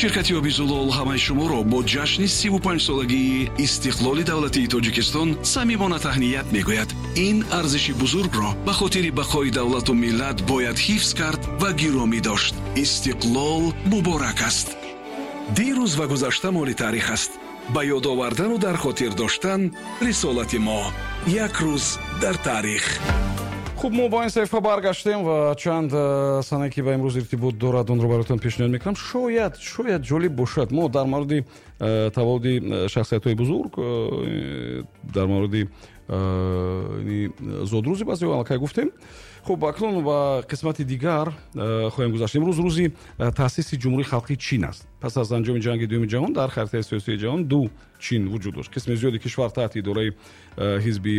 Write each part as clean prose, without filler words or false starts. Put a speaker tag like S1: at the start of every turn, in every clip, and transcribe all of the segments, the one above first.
S1: Ширкати оби «Зулол» ҳамаи шуморо бо ҷашни 35-солагии истиқлоли давлатии Тоҷикистон самимона таҳният мегӯяд. Ин арзиши бузургро ба хотири бақои давлату миллат бояд ҳифз кард ва гиромӣ дошт. Истиқлол муборак аст. Дирӯз ва гузашта моли таърих аст. Ба ёд овардану дар хотир доштан рисолати мо. Як рӯз дар таърих.
S2: Хуб, мо ба ин саҳифа баргаштем ва чанд санае, ки ба имрӯз иртибот дорад, онро бароятон пешниҳод мекунам. Шояд ҷолиб бошад. Мо дар мавриди таваллуди шахсиятҳои бузург, дар мавриди зодрӯзи баъзеҳо аллакай гуфтем. Хуб, акнун ба қисмати дигар хоҳем гузашт. Имрӯз рӯзи таъсиси Ҷумҳурии Халқии Чин аст. Пас аз анҷоми Ҷанги Дуюми ҷаҳон дар харитаи сиёсии ҷаҳон ду Чин вуҷуд дошт. Қисми зиёди кишвар таҳти идораи ҳизби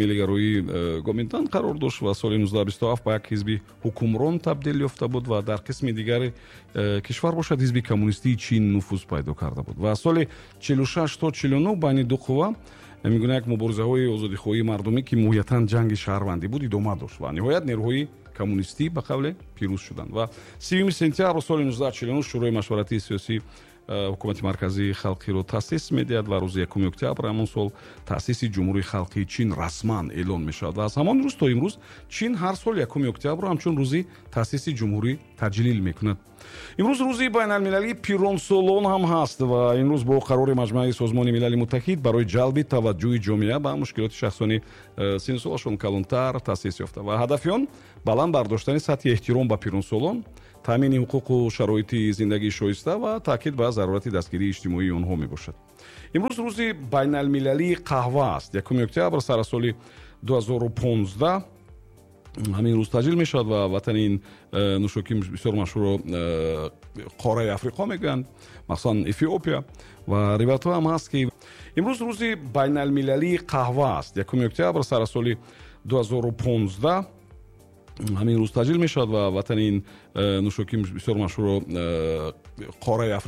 S2: миллигароии Гоминдан қарор дошт ва соли 1927 ба як ҳизби ҳукмрон табдил ёфта буд ва дар қисми дигари кишвар бошад, Ҳизби Коммунистии Чин нуфуз пайдо карда буд. Ва соли 46 то 49 байни ду қувва мегӯна як муборизаҳои озодихоҳии мардумӣ, ки моҳиятан ҷанги шаҳрвандӣ буд, идома дошт ва ниҳоят нерӯҳои коммунистӣ, ба қавле, пирӯз шуданд. Ва 30 сентябр соли 1949 Шӯрои машваратии сиёсӣ Ҳукумати Марказии Халқиро таъсис медиҳад ва рӯзи 1 октябр ҳамон сол таъсиси Ҷумҳурии Халқии Чин расман эълон мешавад. Ва аз ҳамон рӯз то имрӯз Чин ҳар сол 1 октябрро ҳамчун рӯзи таъсиси ҷумҳурӣ таҷлил мекунад. Имрӯз рӯзи байналмилалии пиронсолон ҳам ҳаст ва имрӯз бо қарори Маҷмааи Созмони Милали Муттаҳид барои ҷалби таваҷҷӯҳи ҷомеа ба мушкилоти шахсони синну солашон калонтар таъсис ёфта ва ҳадафи он баланд бардоштани сатҳи эҳтиром ба пиронсолон, таъмини ҳуқуқу шароити зиндагии шоиста ва таъкид ба зарурати дастгирии иҷтимоии онҳо мебошад. Имрӯз рӯзи байналмилалии қаҳва аст. 1 октябр сара соли 2015 ҳамин рӯз таҷлил мешавад ва ватани ин нӯшокии бисёр машҳурро қораи Африқо мегӯянд, махсусан Эфиопия. Ва ривоятҳо ҳам ҳаст, ки имрӯз рӯзи байналмилалии қаҳва аст. 1 октябр сара соли 2015 ҳамин рӯз таҷлил мешавад ва ватани ин нӯшокии бисёр машҳурро қораи